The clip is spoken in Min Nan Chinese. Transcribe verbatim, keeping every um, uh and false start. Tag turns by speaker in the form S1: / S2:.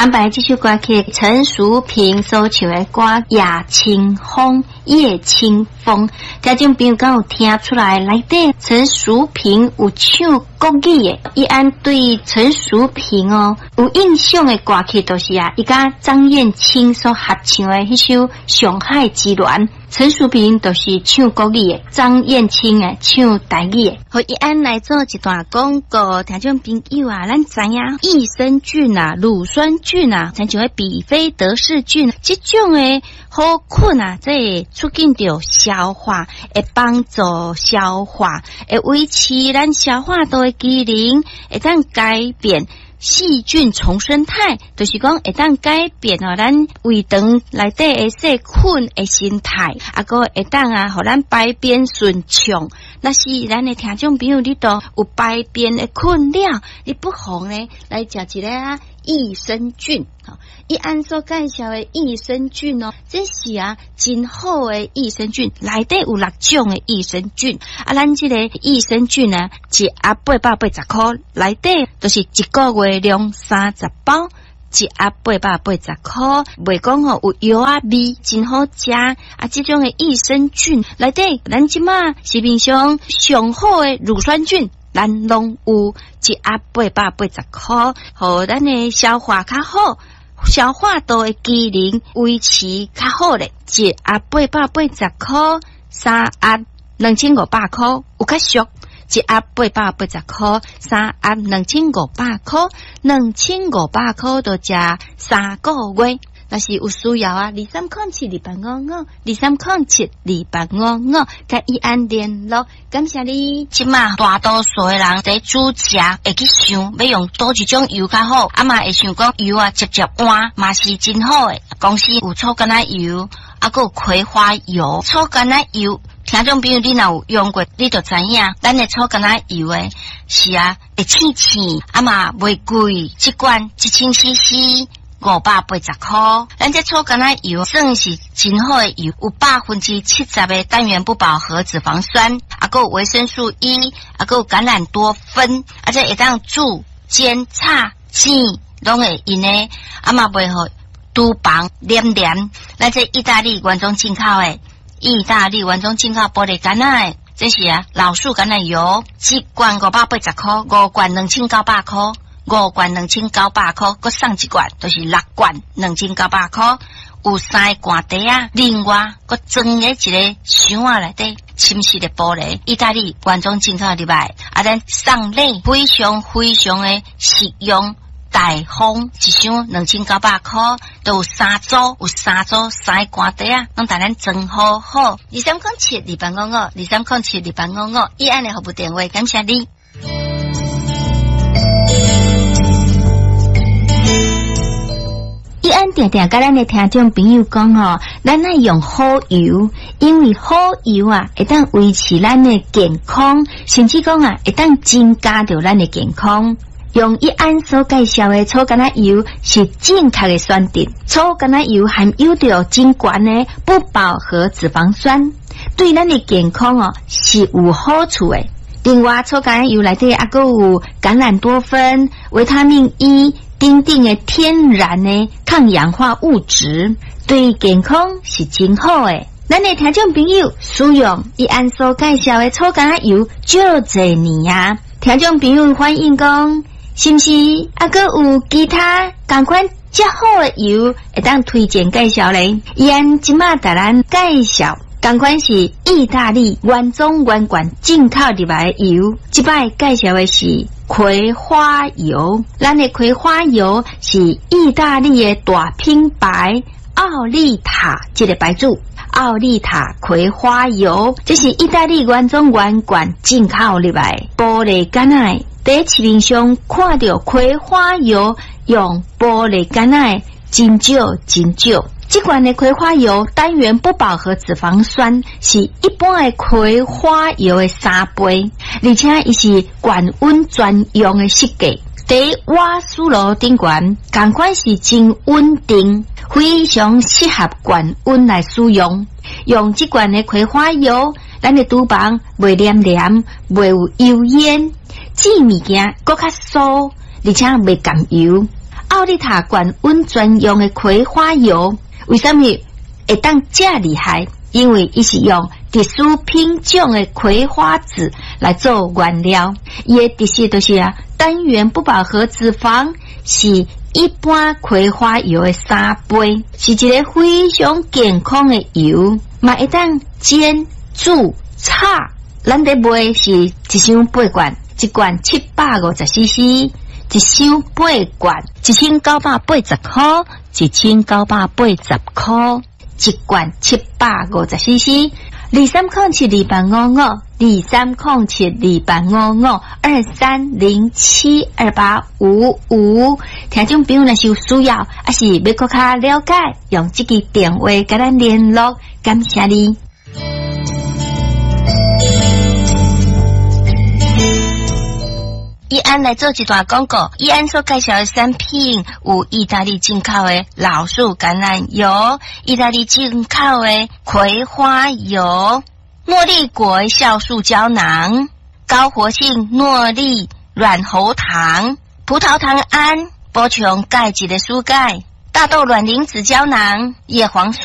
S1: 安排這首歌曲，陳淑萍所唱的歌《夜清風》，夜清風，聽眾朋友敢有聽出來？內底陳淑萍有唱國語的，伊按對陳淑萍哦有印象的歌曲，就是啊，伊佮張燕青所合唱的彼首《上海之戀》。陳淑萍就是唱國語的，張燕青啊唱台語的。予伊按來做一段廣告，聽眾朋友啊，咱知影益生菌啊、乳酸菌啊，親像彼比菲德氏菌，這種的好菌啊，這會促進著消化，會幫助消化，會維持咱消化道的機能，會當改變細菌叢生態，就是講會當改變哦，咱胃腸內底的細菌的生態，啊，閣會當啊，予咱排便順暢。若是咱的聽眾朋友，你都有排便的困擾，你不妨呢來食一个啊益生菌。吼，伊按所介紹的益生菌哦，這是啊真好的益生菌，內底有六種的益生菌。啊，咱這個益生菌呢，一盒八百八十箍，內底就是一個月量三十包。一盒八百八十箍，袂講吼有藥仔味，真好食。啊，這種的益生菌內底，咱這馬市面上上好的乳酸菌，咱攏有一盒八百八十箍，予咱的消化較好，消化道的機能維持較好咧。一盒八百八十箍，三盒兩千五百箍，有較俗。一盒八百八十箍，三盒兩千五百箍，兩千五百箍就食三個月。若是有需要啊，二三空七二八五五，二三空七二八五五，佮伊按聯絡。感謝你。這馬大多數的人佇煮食會去想，欲用佗一種油較好，啊嘛會想講油啊，捷捷換嘛是真好的。公司有草橄欖油，啊閣有葵花油，草橄欖油。聽眾朋友，你若有用過，你就知影，咱的草橄欖油的是啊，會醒醒，啊嘛袂貴，一罐一千 C C 五百八十箍。咱這草橄欖油算是真好的油，有百分之七十的單元不飽和脂肪酸，啊，閣有維生素 E，啊，閣有橄欖多酚，啊，這會當煮、煎、炒、煎，攏會用的，啊嘛袂予廚房黏黏。咱這意大利原裝進口的。意大利原裝進口玻璃橄欖，這是啊老樹橄欖油，一罐五百八十箍，五罐兩千九百箍，五罐兩千九百箍，閣送一罐，就是六罐兩千九百箍，有三個罐袋仔，另外閣裝佇一个箱仔內底，深色的玻璃，意大利原裝進口入來，啊，咱送禮非常非常的實用。大方一箱兩千九百箍，都有三組，有三組三個罐袋仔，攏共咱裝好好。二三空七二八五五，二三空七二八五五，伊按的服務電話，感謝你。伊按定定佮咱的聽眾朋友講吼，咱愛用好油，因為好油啊，會當維持咱的健康，甚至講啊，會當增加著咱的健康。用伊按所介紹的草橄欖油是正確的選擇。草橄欖油含有著真懸的不飽和脂肪酸，對咱的健康哦是有好處的。另外，草橄欖油內底猶閣有橄欖多酚、維他命 E 等等的天然的抗氧化物質，對健康是真好的。咱的聽眾朋友使用伊按所介紹的草橄欖油，足濟年啊！聽眾朋友反映講，是毋是猶閣有其他仝款遮好的油會當推薦介紹咧？伊按這馬共咱介紹，仝款是意大利原裝原罐進口入來的油。這擺介紹的是葵花油，咱的葵花油是意大利的大品牌奧利塔這个牌子。奧利塔葵花油，這是意大利原裝原罐進口入來玻璃罐仔。佇市面上看著葵花油用玻璃罐仔，真少真少。這罐的葵花油單元不飽和脂肪酸是一般的葵花油的三倍，而且伊是高溫專用的設計。佇瓦斯爐頂懸，仝款是真穩定，非常適合高溫來使用。用這罐的葵花油，咱的廚房袂黏黏，袂有油煙，煮物件閣較酥，而且袂含油。奧奧利塔罐溫專用的葵花油，為啥物會當遮厲害？因為伊是用特殊品種的葵花籽來做原料，伊的特色就是啊，單元不飽和脂肪是一般葵花油的三倍，是一个非常健康的油，嘛會當煎、煮、炒。咱咧賣是一箱八罐，一罐七百五十 C C，一箱八罐一千九百八十箍，一千九百八十箍，一罐七百五十 C C，二三空七二八五五，二三空七二八五五，二三零七二八五五。聽眾朋友若是有需要，抑是欲閣較了解，用這支電話共咱聯絡，感謝你。伊安來做一段廣告，伊安所介紹的產品有意大利進口的老樹橄欖油、意大利進口的葵花油、諾麗果酵素膠囊、高活性諾麗軟喉糖、葡萄糖胺、補充鈣質的蔬鈣、大豆卵磷脂膠囊、葉黃素。